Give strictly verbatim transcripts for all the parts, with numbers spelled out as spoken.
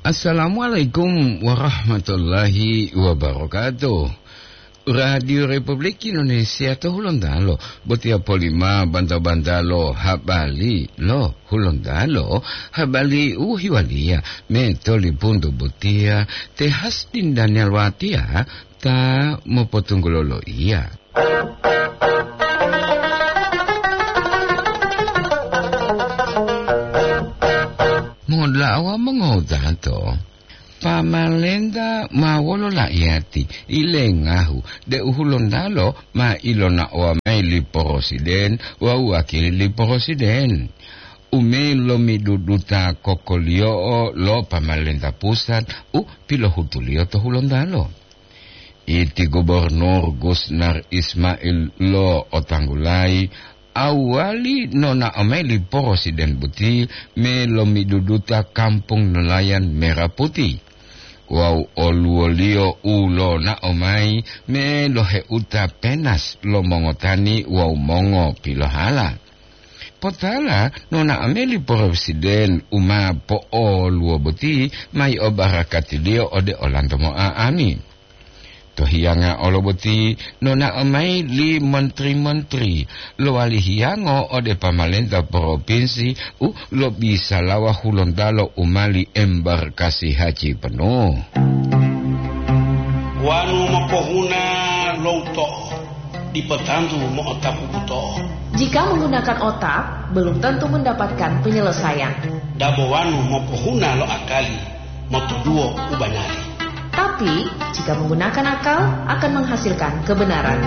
Assalamualaikum warahmatullahi wabarakatuh. Radio Republik Indonesia to Hulontalo, botiya polima banta-bantalo habari lo Hulontalo, habari u hiwaliya me tolipunto botiya te Hasdin Daniel Watiya ta mopotunggulo loiya. Mongoda'a wawu mongotato, pamalenta ma wolo la'iyati ilengahu deu Hulontalo ma ilonaowa mayi li porosiden wawu wakili li porosiden u melomiduduta kokoliyo'o lo pamalenta pusat u pilohutuliyo to Hulontalo. Iti Gubernur Gusnar Ismail lo otanggulayi awali nonao mayi li porosiden boti melomiduduta kampung nelayan Merah Putih wawu oluwoliyo u lonao mayi meloheuta penas lo mongotani wawu mongopilohala. Potala nonao mayi li porosiden u ma po'oluwo boti mayi obarakatiliyo ode olanto mo'a'ami. To hiyanga olo boti nonao mayi li menteri-menteri lowali hiyango ode pamalenta propinsi u lobisalawa Hulontalo u mali embarkasi haji penuh. Wanu mopohuna lo uto'o, dipo tantu mo'otapu buto'o. Jika menggunakan otak, belum tentu mendapatkan penyelesaian. Dabo wanu mopohuna lo akali, motoduwo u banari. Tapi, jika menggunakan akal, akan menghasilkan kebenaran.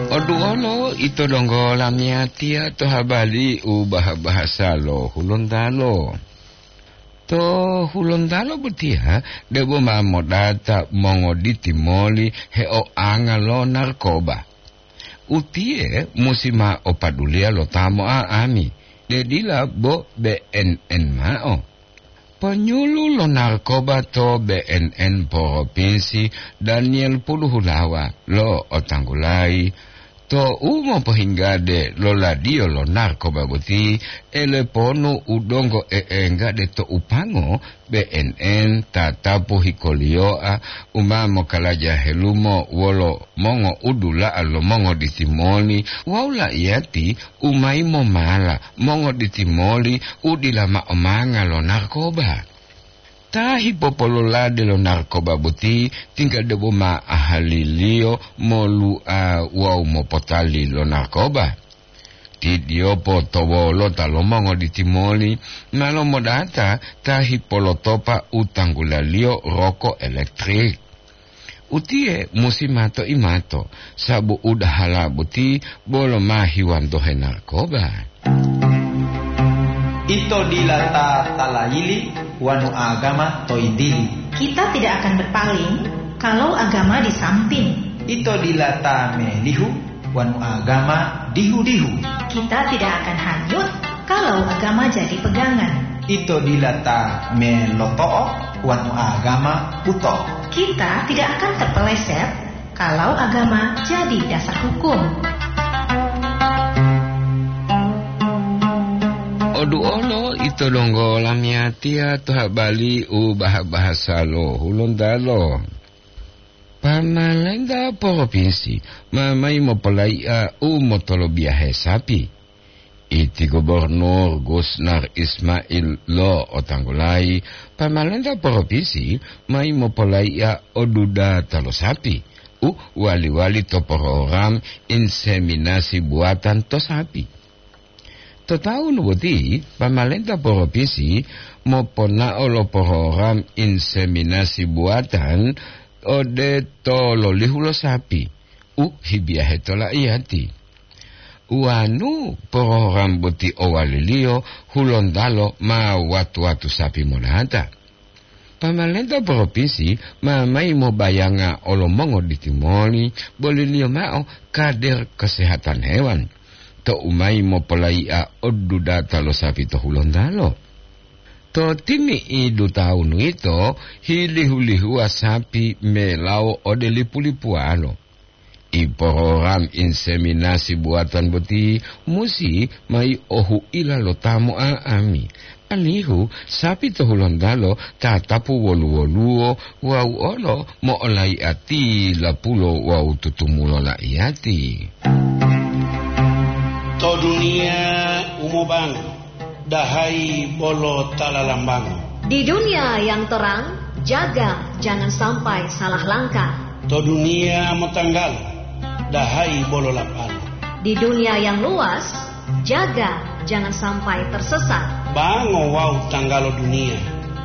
Oduolo ito donggo lamiyatiya to habari u baha-bahasa lo Hulontalo. To Hulontalo botiya debo ma modata mongoditi moli heoanga lo narkoba. Utiye musi ma opaduliya lo ta mo'a'ami, de dila bo B N N ma'o. Ponyulu lo narkoba to B N N Propinsi Daniel Puluhulawa lo otanggulayi, to u mopohinggade lo ladiyo lo narkoba boti, eleponu u donggo e'enggade to upango, B N N tatapu hikoliyoa u ma mokalaja helumo wolo mongoudula'a lo mongoditi moli wawu la'iyati u mayi momala mongoditi moli u dila ma'o manga lo narkoba. Ta hipopololade lo narkoba boti tingga debo ma ahaliliyo molu'a wawu mopotali lo narkoba. Tidiyopo to wolota lo mongoditi moli ma lomodata ta hipolotopa u tanggulaliyo roko elektrik. Utiye musi mato-imato, sabu udahala boti bolo ma hiwantohe narkoba. Ito dila ta talayili wanu agama to yintili. Kita tidak akan berpaling kalau agama di samping. Ito dila ta melihu wanu agama dihu-dihu. Kita tidak akan hanyut kalau agama jadi pegangan. Ito dila ta meloto'o wanu agama buto. Kita tidak akan terpeleset kalau agama jadi dasar hukum. Oduolo ito donggo lamiyatiya to habari u baha-bahasa lo Hulontalo. Pamalenta propinsi ma mayi mopolai'a u motolobiyahe sapi. Iti Gubernur Gusnar Ismail lo otanggulayi, pamalenta propinsi mayi mopolai'a o dudata lo sapi u wali-wali to program inseminasi buatan to sapi. To taunu boti, pamalenta propinsi moponao lo program inseminasi buatan ode tololihu lo sapi u hibiyahe to la'iyati. Wanu program boti owaliliyo, Hulontalo ma watu-watu sapi monata. Pamalenta propinsi ma mayi mobayanga olo mongoditi moli boliliyo mao kader kesehatan hewan, tou mayi mopolai'a o dudata lo sapi to Hulontalo. To timi'idu tawunu yito, hilihu-lihuwa sapi melawo ode lipu-lipuwalo. I program inseminasi buatan boti musi mai ohuila lo ta mo'a'ami, alihu sapi to Hulontalo tatapu wolu-woluwo wawu olo mo'olaiati lapulo wawu tutumulo laiyati. To duniya u mobango, dahayi bolo ta lalambango. Di dunia yang terang, jaga jangan sampai salah langkah. To duniya motanggalo, dahayi bolo lapalo. Di dunia yang luas, jaga jangan sampai tersesat. Bango wawu tanggalo duniya,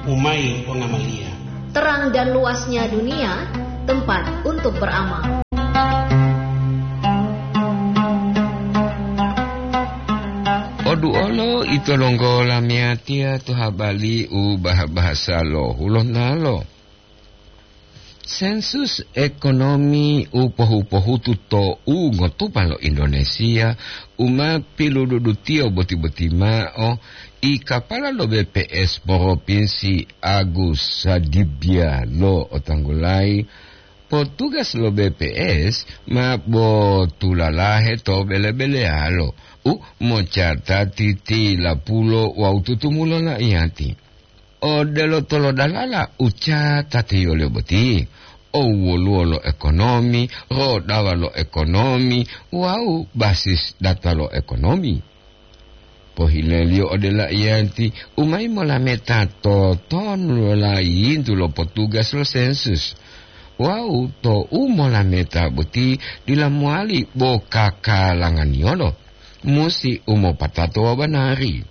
umai pongamaliya. Terang dan luasnya dunia, tempat untuk beramal. Oduolo ito donggo lamiyatiya to habari u bah-bahasa lo Hulontalo. Sensus ekonomi u pohu-pohutu to u ngotupa lo Indonesia u ma pilududutiyo boti-boti mao, i kapala lo B P S Propinsi Agus Sadibia lo otanggulayi, potugas lo B P S ma botulalahe to bele-beleyalo u mocatati tilapulo wawu tutumulo laiyati. Odelo tolodalala u catatiyoliyo boti, owoluwo lo ekonomi, rodawa lo ekonomi, wawu basis data lo ekonomi. Pohileliyo ode laiyati u mayi molameta totonu lo layintu lo potugas lo sensus. Wawu tou molameta boti dila mowali bo kakalanganiyolo, musi u mopatato wawu banari.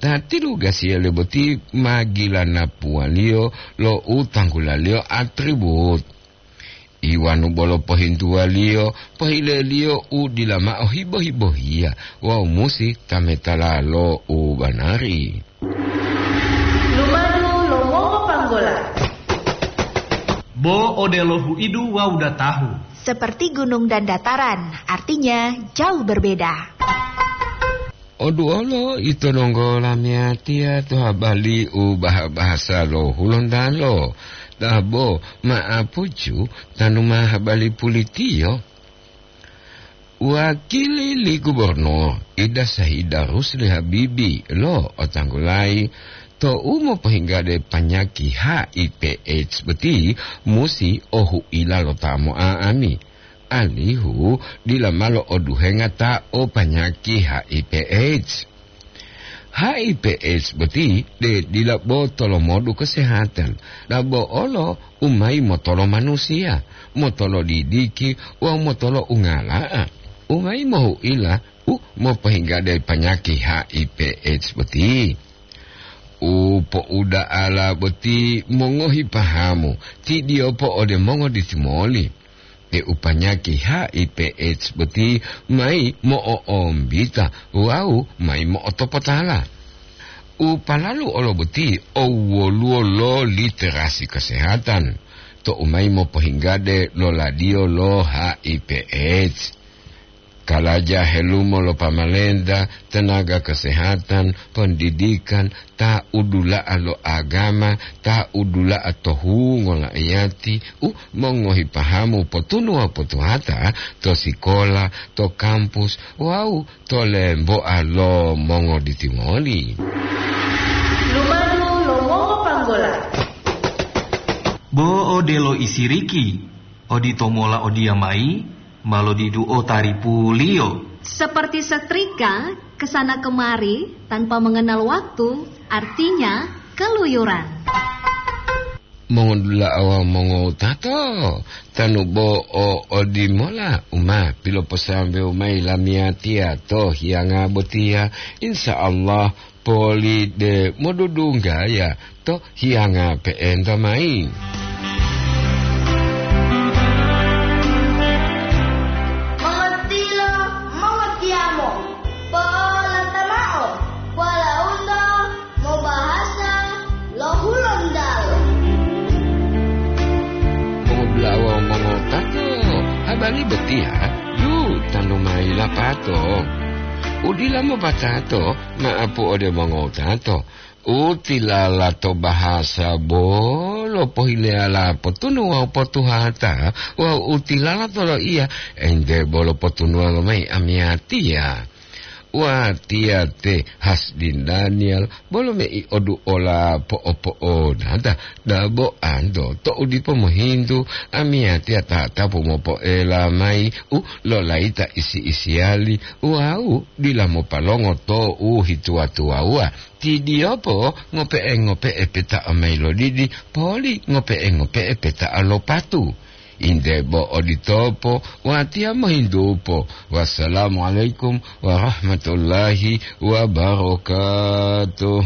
Ta tilugasiyaliyo boti ma gilanapuwaliyo lo u tanggulaliyo atribut. Iwanu bolo pohintuwaliyo, pohileliyo u dila mao hibo-hibohiya wawu musi tametala lo u banari. Lumadu lo mongopanggola. Bo odelo huidu wawu datahu. Seperti gunung dan dataran, artinya jauh berbeda. Oduolo ito donggo lamiyatiya to habari u baha-bahasa lo Hulontalo, dabo ma'apucu tanu ma habari pulitiyo. Wakili li gubernur Ida Saida Rusli Habibi lo otanggulayi tou mopohinggade panyaki H I V AIDS boti musi ohuila lo ta mo'a'ami, alihu dila ma lo'oduhenga ta o panyaki H I V AIDS. H I V AIDS boti de dila bo tolomodu kesehatan, dabo olo u mayi motolo manusiya, motolo didiki wawu motolo ungala'a, u mayi mohuila u mopohinggade panyaki H I V AIDS boti. U po'uda'ala boti mongohi pahamu, tidiyopo ode mongoditimoli, deu panyaki H I V AIDS boti mayi mo'o'ombita wawu mayi mo'otopotala. U palalu olo boti owoluwo lo literasi kesehatan, tou mayi mopohinggade loladiyo lo H I V AIDS. Kalaja helumo lo pamalenta, tenaga kesehatan, pendidikan, ta udula'a lo agama, ta udula'a to hungo la'iyati, u mongohi pahamu potunu wawu potuhata to sikola, to kampus, wawu to lemboa lo mongoditimoli. Lumadu lo mongopanggola. Bo odelo isiriki, odito mola odiyamayi, ma lodiduo taripuliyo. Seperti setrika, ke sana kemari tanpa mengenal waktu, artinya keluyuran. Mongodula'a wawu mongowutato, tanu bo o odimola u ma piloposambewu mayi lamiyatiya to hiyanga botiya, insya Allah poli de modudunggaya to hiyanga pe'enta mayi. Mongotiyo, mongotiyamo, po'olata mao, polaunto mobahasa lo Hulontalo. Mongobulawa mongotato, habari botiya yu tanu mayi lapato. Udila mopatato, ma'apu ode mongotato. U tilala to bahasa bolo pohileyala potunu wawu potuhata, wawu u tilala to loiya ente bolo potunuwa lomayi amiyatiya. Watiya te Hasdin Daniel bolo mei oduola po'opo'onata, dabo anto to'u dipo mohintu amiyatiya tatapu mopoela mayi u lolayita isi-isiyali wawu dila mopalongo to u hituwa-tuwawuwa. Tidiyopo ngope'e-ngope'e peta'a mayi lodidi, poli ngope'e-ngope'e peta'a lo patu. Inde bo oditopo, watiya mohintupo. Wassalamualaikum warahmatullahi wabarakatuh.